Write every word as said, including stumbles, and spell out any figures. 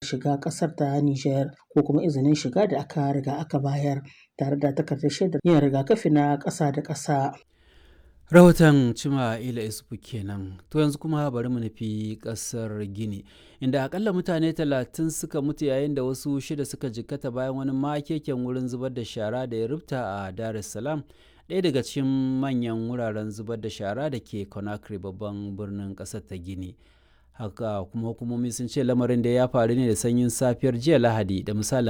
shiga ƙasar ta Nijar ko kuma izinin shiga da aka riga aka bayar tare da takardar shaidar yin rigakafi na ƙasa da ƙasa. Rahoton Cima Ila Isufu kenan. To yanzu kuma bari mu nufi kasar Gini, inda akalla mutane talatin suka mutu yayin da wasu shida suka jikkata bayan wani makeken wurin zubar da shara da ya rubta a Dar es Salaam, ɗaya daga cikin manyan wuraren zubar da shara da ke Conakry, babban birnin ƙasar ta Gini. Haka kuma hukumomi sun ce lamarin da ya faru ne da sanyin safiyar jiya Lahadi da misalin